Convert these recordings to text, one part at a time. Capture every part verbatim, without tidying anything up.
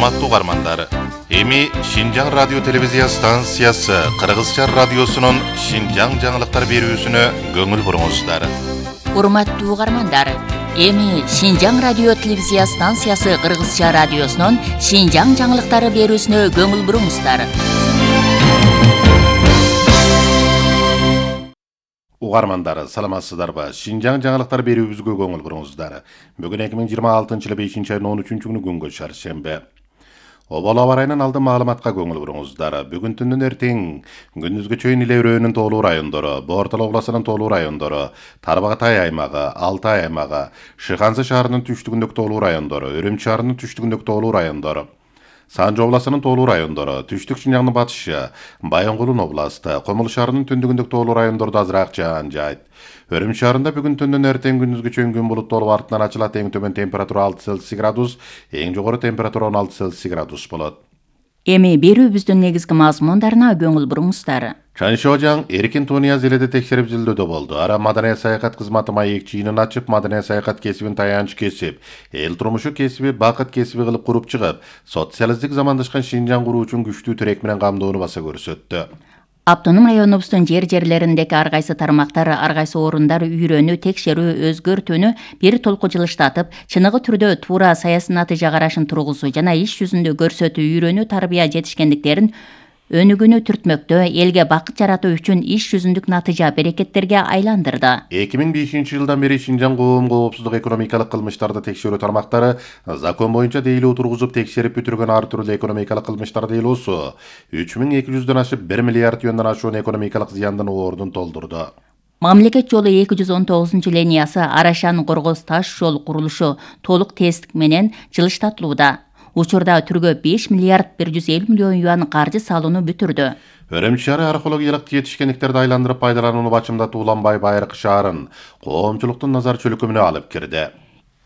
Урматтуу угармандар, эми Шинжаң радио телевизия станциясы Кыргызча радиосунун Шинжаң жаңылыктар берүүсүнө көңүл буруңуздар. Урматтуу угармандар, эми Шинжаң радио телевизия станциясы Кыргызча радиосунун Шинжаң жаңылыктары берүүсүнө көңүл буруңуздар. Угармандар, саламатсыздарбы? Шинжаң жаңылыктар берүүбүзгө көңүл буруңуздар. Бүгүн эки миң жыйырма алтынчы жылы бешинчи айдын он үчүнчү күнү күнгө чаршембе. Обол аба ырайынан алдын маалыматка көңүл буруңуздар. Бүгүн түндүн эртең күндүзгө чейин эле өрөөнүн тоолуу райондору, Бортол областынын тоолуу райондору, Тарбагатай аймагы, Алтай аймагы, Шыхансы шаарынын түштүгүндөгү тоолуу райондору, Өрөм шаарынын түштүгүндөгү тоолуу райондору, Санжы областынын тоолуу райондору, Түштүк Шинжаңдын батышы, Байонгулун областы, Комул шаарынын түндүгүндөгү тоолуу райондордо азыраак жаан жайт. Өрөм шаарында бүгүн түндүн эртең күндүзгө чейин күн булуттуу болуп артынан ачылат. Эң төмөн температура алты Цельсий градус, эң жогору температура он алты Цельсий градус болот. Эми берүүбүздүн негизги мазмундарына көңүл буруңуздар. Чаншожаң эркин Тунияз эледе текшерип изилдөөдө болду. Ара маданият саякат кызматы маек чыйынын ачып, маданият саякат кесибин таянч кесип, эл турмушу кесиби, бакыт кесиби кылып куруп чыгып, социалисттик замандашкан Шинжаң куруу үчүн күчтүү тирек менен камдоону баса көрсөттү. Автоном районубуздун жер жерлериндеги ар кайсы тармактар, ар кайсы орундар үйрөнүү, текшерүү, өзгөртүүнү бир толку жылыштатып, чыныгы түрдө туура саясий натыйжа карашын тургузуу жана иш жүзүндө көрсөтүү, үйрөнүү, тарбия жетишкендиктерин өнүгүүнү түртмөктөө, элге бакыт жаратуу үчүн иш жүзүндүк натыйжа берекеттерге айландырды. эки миң бешинчи жылдан бери Шинжаң коом коопсуздук экономикалык кылмыштарды текшерүү тармактары закон боюнча дейлөө тургузуп текшерип бүтүргөн ар түрдүү экономикалык кылмыштар дейлоосу үч миң эки жүздөн ашып бир миллиард юандан ашуун экономикалык зыяндын ордун толтурду. Мамлекет жолу эки жүз он тогузунчу линиясы Арашан Коргоз таш жол курулушу толук тесттик менен жылыштатылууда. Учурда түргө беш миллиард бир жүз элүү миллион юан каржы салууну бүтүрдү. Өрөм шаары археологиялык жетишкендиктерди айландырып пайдаланууну бачымдатуу Уланбай Байыркы шаарын коомчулуктун назар чөлкөмүнө алып кирди.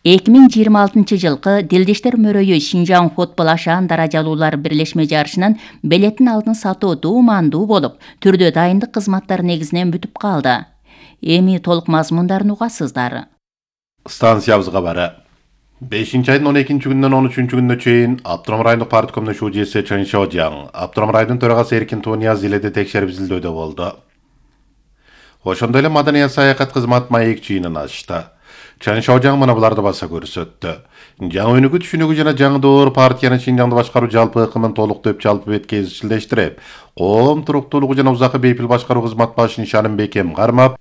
эки миң жыйырма алтынчы жылкы Дилдештер мөрөйү Шинжаң футбол ашаан даражалуулар бирлешме жарышынын билетин алдын сатуу дуумандуу болуп, түрдө дайындык кызматтары негизинен бүтүп калды. Эми толук мазмундарын угасыздар. Станциябызга бары. бешинчи айдын он экинчи күнүнөн он үчүнчү күнүнө чейин Аптырам райондук парткомдун шужеси Чаншожаң, Аптырам районунун төрагасы Эркин Тунияз эледе текшерип изилдөөдө болду. Ошондой эле маданият саякат кызмат маек чыйынын ачты. Чаншожаң мына буларды баса көрсөттү. Жаңы өнүгүү түшүнүгү жана жаңы партиянын Шинжаңды башкаруу жалпы ыкымын толуктоп жалпы бетке изчилдештирип, коом туруктуулугу жана узакы бейпил башкаруу кызмат башы нишанын бекем кармап,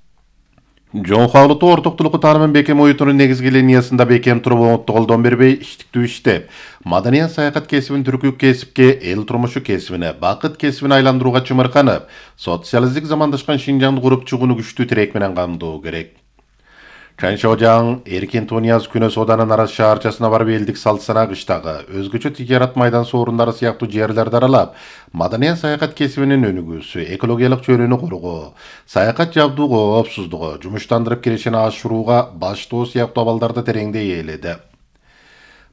Жоңхалытуу ортоктулуку таанымын бекем оютунун негизги линиясында бекем туруп оңотту колдон бербей иштиктүү иштеп, маданият саякат кесибин түркүк кесипке, эл турмушу кесибине, бакыт кесибин айландырууга чымырканып, социалисттик замандашкан Шинжаңды куруп чыгууну күчтүү тирек менен камдоо керек. Чаншожаң Эркин Тунияз Күнө Сооданын Арас шаарчасына барып элдик салт-санаа кыштагы, өзгөчө тижарат майдан соорундары сыяктуу жерлерди аралап, маданият саякат кесибинин өнүгүүсү, экологиялык чөйрөнү коргоо, саякат жабдуу коопсуздугу, жумуштандырып кирешени ашырууга баштоо сыяктуу абалдарды тереңдей ээледи.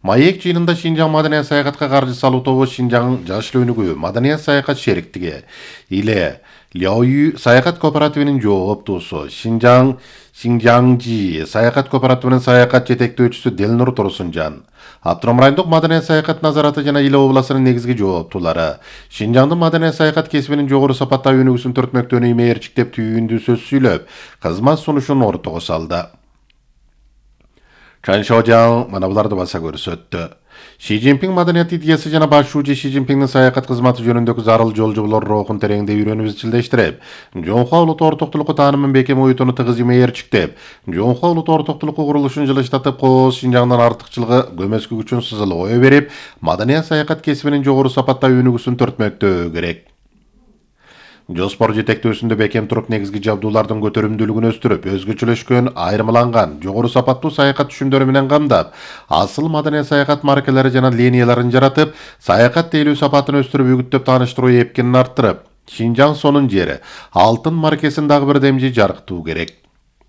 Маек чыйынында Шинжаң маданият саякатка каржы салуу тобу Шинжаң жашыл өнүгүү, маданият саякат шериктиги, Иле Ляоюй саякат кооперативинин жооптуусу, Шинжаң Шинжаңжи саякат кооперативинин саякат жетектөөчүсү Делнур Турсунжан, Аптырам райондук маданият саякат назараты жана Иле областынын негизги жооптуулары, Шинжаңдын маданият саякат кесибинин жогору сапаттагы өнүгүүсүн төртмөктөөнү имээрчиктеп түйүндүү сөз сүйлөп, кызмат сунушун ортого салды. Чаншожаң мына буларды баса көрсөттү. Ши Цзиньпин маданият идеясы жана баш шүүжү Ши Цзиньпиндин саякат кызматы жөнүндөгү зарыл жол жоболор рухун тереңдей үйрөнүп изчилдештирип, Жоңхо улуттуу ортоктулуку таанымын бекем оютуну тыгыз имээрчиктеп, Жоңхо улуттуу ортоктулуку курулушун жылыштатып, кооз Шинжаңдын артыкчылыгы көмөскү күчүн сызылып ое берип, маданият саякат кесибинин жогору сапаттагы өнүгүүсүн төртмөктөө керек. Жоспор жетектөөсүндө бекем туруп негизги жабдуулардын көтөрүмдүүлүгүн өстүрүп, өзгөчөлөшкөн, айырмаланган, жогору сапаттуу саякат түшүмдөрү менен камдап, асыл маданият саякат маркалары жана линияларын жаратып, саякат тейлөө сапатын өстүрүп, үгүттөп тааныштыруу эпкинин арттырып, Шинжаң сонун жери, алтын маркесин дагы бир демжи жарыктуу керек.